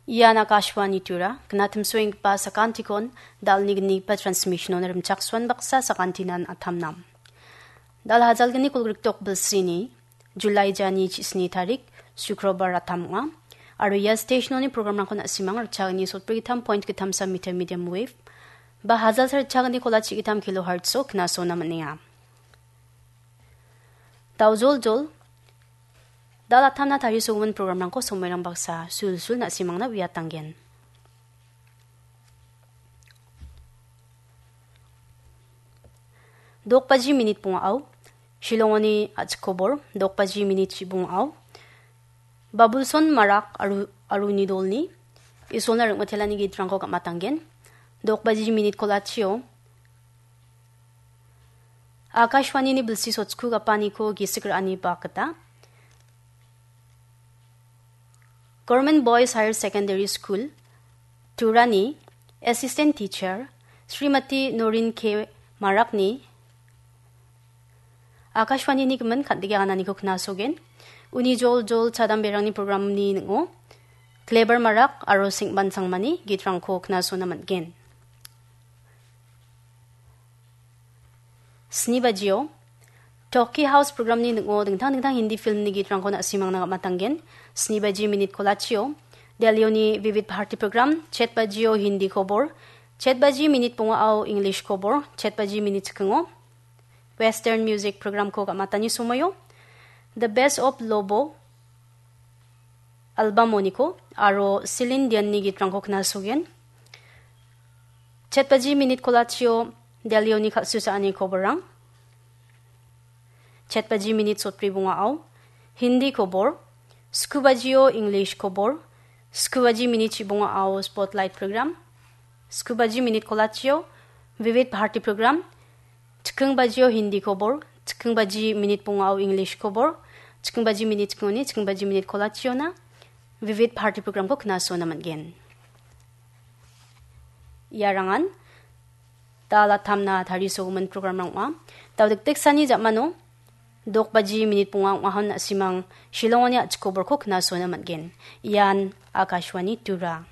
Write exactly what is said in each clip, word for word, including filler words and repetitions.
Ian Akashvani Tura, gnatimsoenggipa sakantikon, dalni gnigipa transmission-on rimchaksoan baksa sakantinan atamnam. Dal hajalgni kolgrikdok bilsini, July jani chisni tarik, Sukrobar atam ong·a. Aro ia station-oni program-rangkon na·simang ritchagni sotbrigittam point gittamsa meter medium wave, ba hajalsa ritchagni kola chigittam kilohertz-o knasona man·enga. Daojoljol, dal atamna tarisogimin program-rangko somoirang baksa sulsul na·simangna uiatanggen. Dokbaji minit bongao, Shillongoni a·chikobor, dokbaji minit chibongao, Babulson Marak aru, aruni dolni Isolna ringmitelani gitrangko gam·atanggen. Dokbaji minit kolachio, Akashvanini bilsi sochkugapaniko gisik ra·ani bak gita, Government Boys Higher Secondary School, Turani Assistant Teacher, Srimati Norin K Marakni Akashvanini gimin kandike anganiko knasogen. Uni jol jol chadamberangni programni ning·o Kleber Marak aro Sengban Sangmani gitrangko knasona man·gen. Sni bajio, Talkie House programni ning·o dingtang dingtang Hindi filmni gitrangko na·simangna gam·atanggen. Sni baji minit kolachio, Delhioni Vividh Bharati program, chet bajio Hindi kobor, chet baji minit bongao English kobor, chet baji minit chikingo Western music programko gam·atani somoio, The Best of Lobo album-oniko aro Celine Dionni gitrangko knasogen. Chet baji minit kolachio Delhioni kal·susaani koborrang. Chet baji minit sotbri bongao Hindi kobor, sku bajio English kobor, sku baji minit chibongao Spotlight program, sku baji minit kolachio Vividh Bharati program, chiking bajio Hindi kobor, chiking baji minit bongao English kobor, chiking baji minit chikingoni, chiking baji minit kolachiona Vividh Bharati programko knasona man·gen. Iarangan dal atamna tarisogimin programrang ong·a. Dal dikdeksani ja·mano dok baji minit bonga ong·ahon na·simang Shillongoni a·chik koborko knasona man·gen. Ian Akashvani Tura.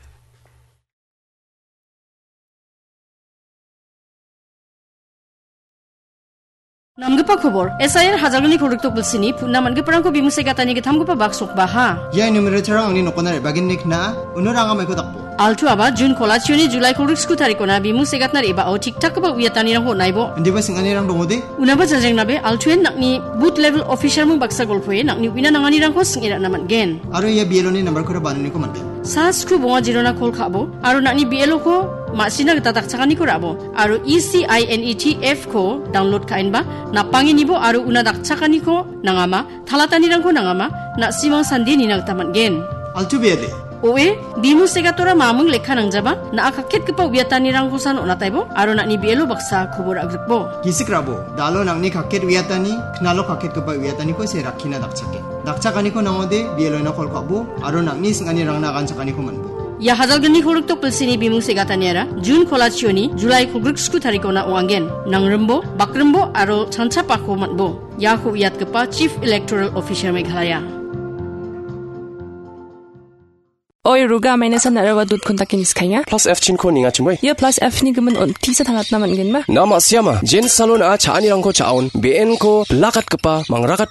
Namgipa kobor, S I R Hajalgni kolgrikdok bilsini putna man·giparangko bimung segatani gittamgipa bak sokbaha. Ia numerator-rang angni nokona re·bagenni kna·a, uno ranga maiko dakbo. Altu aba Jun kolachioni Julai kolgrik sku tarikona bimung segatna re·bao tik-takgipa uiatanirangko on·aibo. Indiba sing·anirang dongode? Unaba jajengnabe, Altuen nang·ni booth level officer-mung baksa golpoe nang·ni uina nanganirangko sing·e ra·na man·gen. Aro ia B L O-ni nambarkora bananiko man·gen. Sa sku bonga jirona kol ka·bo, aro nang·ni B L O-ko ma·sina gita dakchakaniko ra·bo, aro E C I N E T F-ko download ka·enba, napange nibo aro una dakchakaniko nangama, talatanirangko nangama, na·simang sande nina gita man·gen. Altu B L A. Oe, bimung segatora mamung lekka nangjaba, na·a kaketgipa uiatanirangkosan on·ataibo, aro nang·ni B L O baksa kobor agrikbo. Gisik ra·bo, dalo nang·ni kaket uiatani, knalo kaketgipa uiataniko se rakkina dakchake. Dakchakaniko nangode, B L O-na kol ka·bo, aro nang·ni sing·anirangna aganchakaniko man·bo. Ia Hajalgni kolgrikdok bilsini bimung segataniara Jun kolachioni Julai kolgrik sku tarikona ong·angen. Nangrimbo, bakrimbo, aro chanchapako man·bo. Iako uiatgipa Chief Electoral Officer Meghalaya. Oi, Ruga, maina san narawa dot kontaki niskainga. Plus F chinko ninga chimoi. Ia plus F ni gimin on tisa tangatna man·genma? Nama siama, Jen Salon a cha·anirangko cha·on, B N ko bilakatgipa, mangrakat